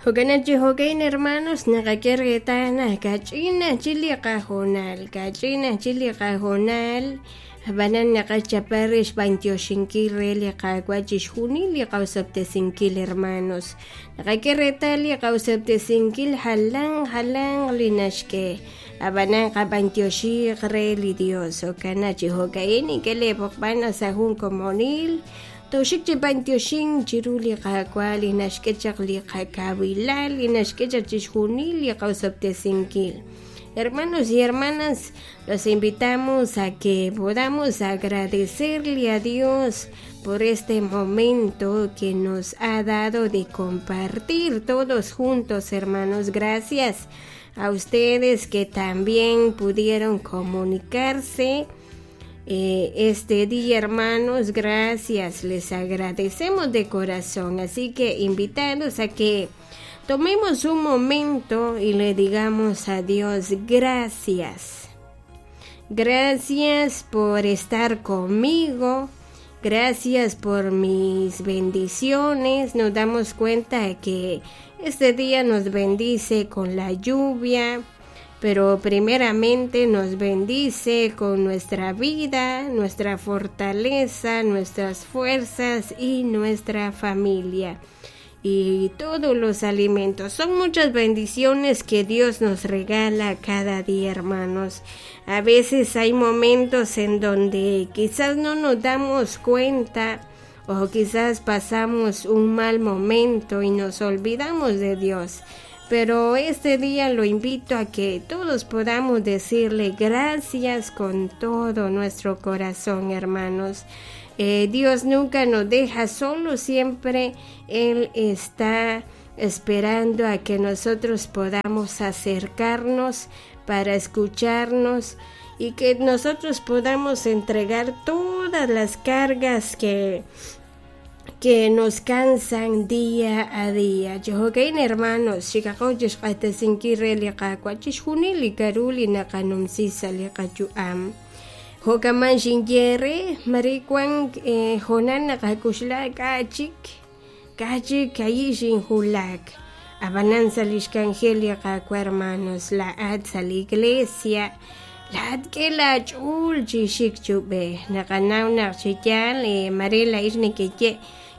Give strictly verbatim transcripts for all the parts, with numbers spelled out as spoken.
Jo'kan chi jo'kan hermanos naqak'e reetal naq kach'in chik li qahoonal kach'in chik li qahoonal ab'anan naqachapa re xb'antioxinkil re li Qaawa' chixjunil li qawsob'tesinkil hermanos naqak'e reetal li qawsob'tesinkil jalan jalan li naxk'e ab'anan qab'antioxiq re li Dios jo'kan chi jo'ka'in ink'e leepoqb'an sa' jun komonil toxik chi b'antioxin chiru li Qaawa' li naxk'e chaq li qakawilal li naxk'e chaq chixjunil li qawsob'tesinkil. Hermanos y hermanas, los invitamos a que podamos agradecerle a Dios por este momento que nos ha dado de compartir todos juntos, hermanos. Gracias a ustedes que también pudieron comunicarse eh, este día, hermanos. Gracias, les agradecemos de corazón. Así que invitados a que tomemos un momento y le digamos a Dios gracias. Gracias por estar conmigo. Gracias por mis bendiciones. Nos damos cuenta que este día nos bendice con la lluvia, pero primeramente nos bendice con nuestra vida, nuestra fortaleza, nuestras fuerzas y nuestra familia y todos los alimentos. Son muchas bendiciones que Dios nos regala cada día, hermanos. A veces hay momentos en donde quizás no nos damos cuenta o quizás pasamos un mal momento y nos olvidamos de Dios. Pero este día lo invito a que todos podamos decirle gracias con todo nuestro corazón, hermanos. Eh, Dios nunca nos deja solos, siempre Él está esperando a que nosotros podamos acercarnos para escucharnos y que nosotros podamos entregar todas las cargas que que nos cansan día a día. Jo'kan hermanos, xikaqo chixq'axtesinkil re li Qaawa' chixjunil li k'aru li naqanumsi sa' li qayu'am. Jo'kaman xinye re mare wan eh, hoonal naqak'uxla k'a' chik k'a' chik ayi' xinjulak ab'anan sa' lix k'anjel li Qaawa' hermanos la'at sa' li iglesia la'at k'e laach'ool chi xik chub'ej naqanaw naq chi yaal eh, mare la'ix nekeye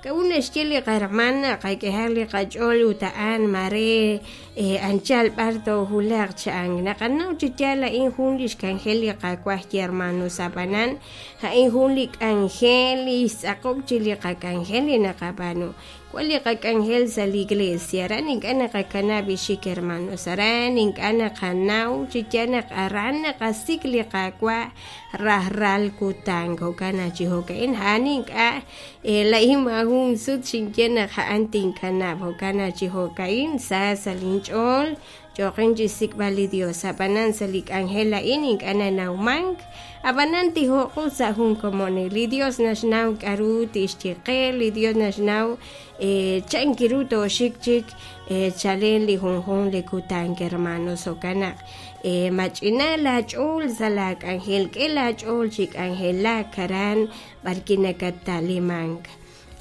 k'a'ut naxye li qahermana qak'ehaq li qach'ool ut a'an mare eh, anchal b'ar toojulaq cha'an naqanaw chi yaal a'in jun lix k'anjel li Qaawa' hermanos ab'anan a'in jun li k'anjel li xtz'aqob' chi li qak'anjel li naqab'aanu wan li qak'anjel sa' li iglesia aran ink'a' naqakanab' ixik hermanos aran ink'a' naqanaw chi yaal naq aran naqasik' li Qaawa' rajlal kutan jo'kan chi jo'ka'in a'an ink'a' eh, la'in maajun sut xinye naq a'an tinkanab' jo'kan chi jo'ka'in sa sa' linch'ool choqin chi xsik'b'al li Dios ab'anan sa' li k'anjel a'in ink'a' nanawmank ab'anan tijo'qu sa' jun komonil li Dios naxnaw k'aru tixye qe li Dios naxnaw eh, chan kiru tooxik chik eh, chalen li junjun li kutan hermanos jo'kan naq eh, mach'ina laach'ool sa' laak'anjel k'e laach'ool chi k'anjelak aran b'arki nakata'limank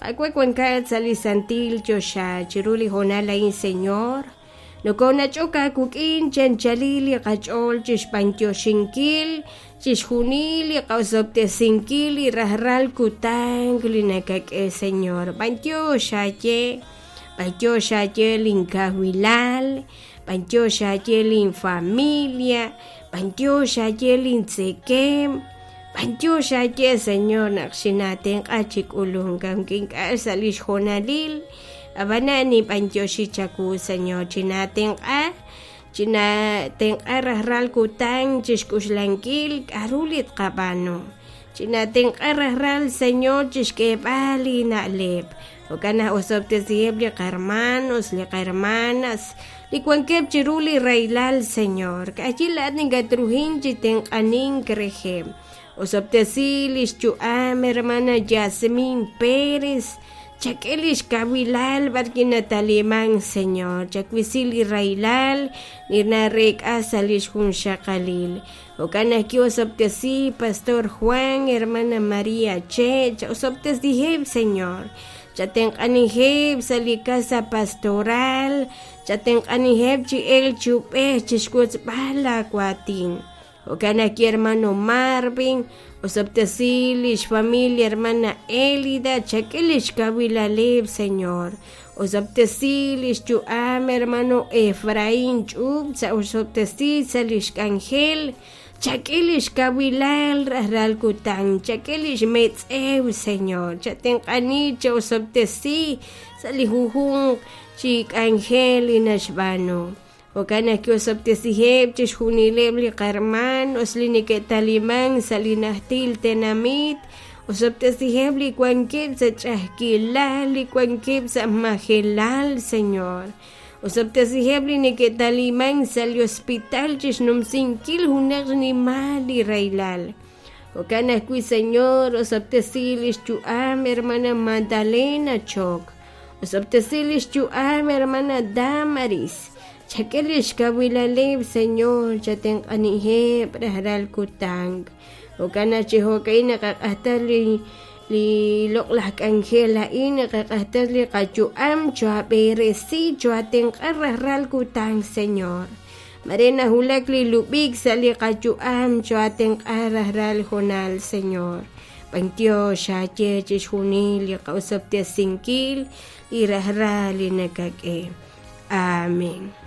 Qaawa' wankat sa' li santil choxa chiru li hoonal a'in Señor nokonach'ok aawik'in chanchalil li qach'ool chixb'antioxinkil chixjunil li qawsob'tesinkil li rajlal kutan li nakak'e Señor b'antiox aaye b'antiox aaye linkawilal b'antiox aaye linfamilia b'antiox aaye lintzekem b'antiox aaye Señor naq xinatenq'a chi k'ulunk aunque ink'a' sa' lix joonalil ab'anan nib'antioxi chawu Señor chinatenq'a chinatenq'a rajlal kutan chixk'uxlankil k'aru li tqab'aanu chinatenq'a rajlal Señor chixk'eeb'al li na'leb' jo'kan naq osob'tesiheb' li qahermanos li qahermanas li wankeb' chiru li rahilal Señor k'ayi la'at ninkatruhin chi tenq'anink reheb' osob'tesi lix yu'am hermana Yasmin Pérez chak'e lix kawilal b'arki nataliman Señor chakwisi li rahilal li narek'a sa' lix junxaqalil jo'kan naq osob'tesi Pastor Juan hermana María Che osob'tesiheb' Señor Chatenq'anijeb' sa' li casa pastoral, chatenq'anijeb' chi el chub'ej chixwotzb'al laawatin. Jo'kan ajwi' hermano Marvin, osob'tesi lix familia hermana Elida, chak'e lix kawilaleb', Señor. Osob'tesi lix yu'am hermano Efraín Ch'ub, sa osob'tesi sa lix k'anjel, chak'e lix kawilal rajlal kutan, chak'e lix metz'ew, Señor. Chatenq'ani cha osob'tesi sa li junjunq chi k'anjel li naxb'aanu. Jo'kan ajwi' osob'tesiheb' chixjunileb' li qarmanos li neke'taliman sa' li najtil tenamit, osob'tesiheb' li wankeb' sa' ch'a'ajkilal, li wankeb' sa' majelal, Señor. Osob'tesiheb' li neke'taliman sa' li hospital chixnumsinkil junaq xnimal li rahilal. Jo'kan ajwi', Señor, osob'tesi lix yu'am hermana Magdalena Chok, osob'tesi lix yu'am hermana Damaris, chak'e lix kawilaleb', Señor, chatenq'aniheb' rajlal kutan. Jo'kan naq chi jo'ka'in naqaq'ajta li li loq'laj k'anjel a'in, naqaq'ajta li qayu'am, choab'eresi, choatenq'a rajlal kutan, Señor. Mare najulak li lub'ik sa' li qayu'am, choatenq'a rajlal jonal, Señor. B'antiox xaye chixjunil li qa'osob'tesinkil li rajlal li nakak'e. Amén.